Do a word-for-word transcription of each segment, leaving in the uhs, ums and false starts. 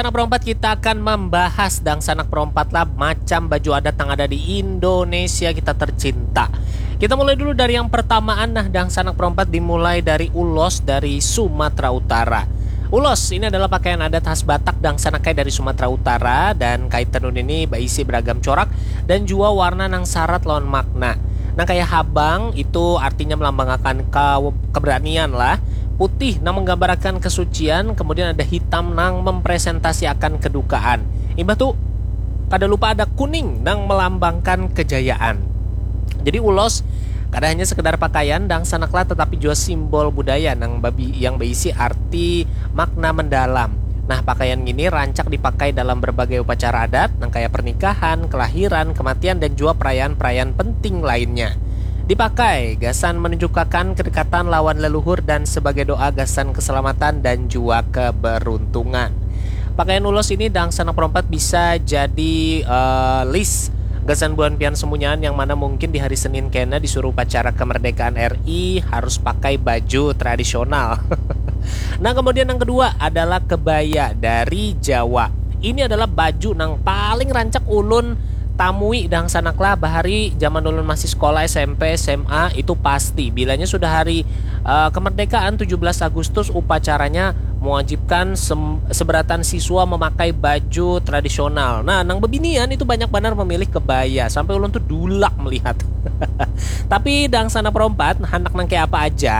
Sanak perompat, kita akan membahas dangsanak perompat lah macam baju adat yang ada di Indonesia kita tercinta. Kita mulai dulu dari yang pertamaan. Nah, dangsanak perompat dimulai dari ulos dari Sumatera Utara. Ulos ini adalah pakaian adat khas Batak dangsanak dari Sumatera Utara, dan kain tenun ini berisi beragam corak dan juga warna nang syarat lawan makna. Nah, kayak habang itu artinya melambangkan ke keberanian lah. Putih nang menggambarakan kesucian, kemudian ada hitam nang mempresentasiakan kedukaan. Imbah tu kada lupa ada kuning nang melambangkan kejayaan. Jadi ulos kada hanya sekedar pakaian dangsanaklah, tetapi juga simbol budaya nang babi yang berisi arti makna mendalam. Nah, pakaian ini rancak dipakai dalam berbagai upacara adat, nang kaya pernikahan, kelahiran, kematian, dan juga perayaan-perayaan penting lainnya. Dipakai gasan menunjukkan kedekatan lawan leluhur dan sebagai doa gasan keselamatan dan juga keberuntungan. Pakaian ulos ini dangsanak perompat bisa jadi uh, list gasan buhan pian semunyaan yang mana mungkin di hari Senin kena disuruh upacara kemerdekaan R I harus pakai baju tradisional. Nah, kemudian yang kedua adalah kebaya dari Jawa. Ini adalah baju nang paling rancak ulun tamui dangsanaklah bahari zaman ulun masih sekolah S M P, S M A itu pasti. Bilanya sudah hari uh, kemerdekaan tujuh belas Agustus, upacaranya mewajibkan seberatan siswa memakai baju tradisional. Nah, nang bebinian itu banyak banar memilih kebaya. Sampai ulun tuh dulak melihat. Tapi dangsanak perompat, handak nang kayak apa aja,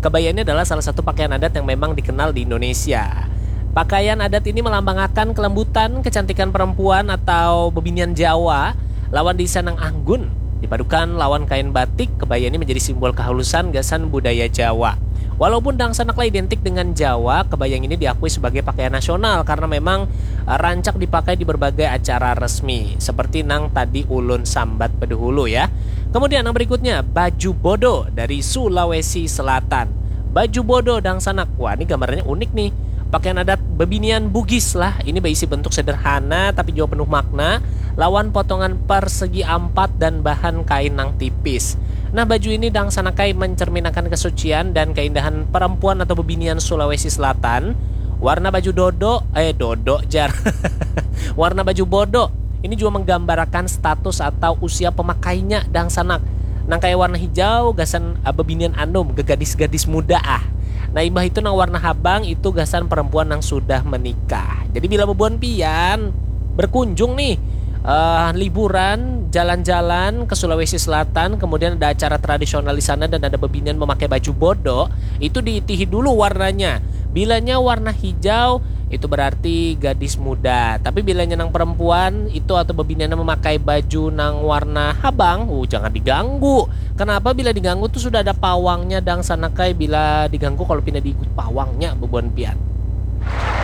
kebaya ini adalah salah satu pakaian adat yang memang dikenal di Indonesia. Pakaian adat ini melambangkan kelembutan, kecantikan perempuan atau bebinian Jawa lawan desain nang anggun. Dipadukan lawan kain batik, kebaya ini menjadi simbol kehalusan gasan budaya Jawa. Walaupun dangsanaklah identik dengan Jawa, kebaya ini diakui sebagai pakaian nasional karena memang eh, rancak dipakai di berbagai acara resmi, seperti nang tadi ulun sambat bedahulu ya. Kemudian yang berikutnya, baju bodo dari Sulawesi Selatan. Baju bodo dangsanak, wah, ini gambarannya unik nih. Pakaian adat bebinian Bugis lah. Ini berisi bentuk sederhana tapi juga penuh makna, lawan potongan persegi ampat dan bahan kain nang tipis. Nah, baju ini dangsanakai mencerminakan kesucian dan keindahan perempuan atau bebinian Sulawesi Selatan. Warna baju dodo, eh, dodo jar. Warna baju bodo ini juga menggambarakan status atau usia pemakainya dangsanak. Nang kayak warna hijau gasan eh, bebinian anum, gegadis-gadis muda ah. Nah, imbah itu nang warna habang itu gasan perempuan yang sudah menikah. Jadi bila bebuan pian berkunjung nih uh, liburan, jalan-jalan ke Sulawesi Selatan, kemudian ada acara tradisional di sana dan ada bebinian memakai baju bodo, itu diitihi dulu warnanya. Bilanya warna hijau, itu berarti gadis muda. Tapi bilanya nang perempuan itu atau bebinian memakai baju nang warna habang, uh, jangan diganggu. Kenapa? Bila diganggu tuh sudah ada pawangnya dangsanak ai. Bila diganggu kalau pindah diikut pawangnya bebuan pian.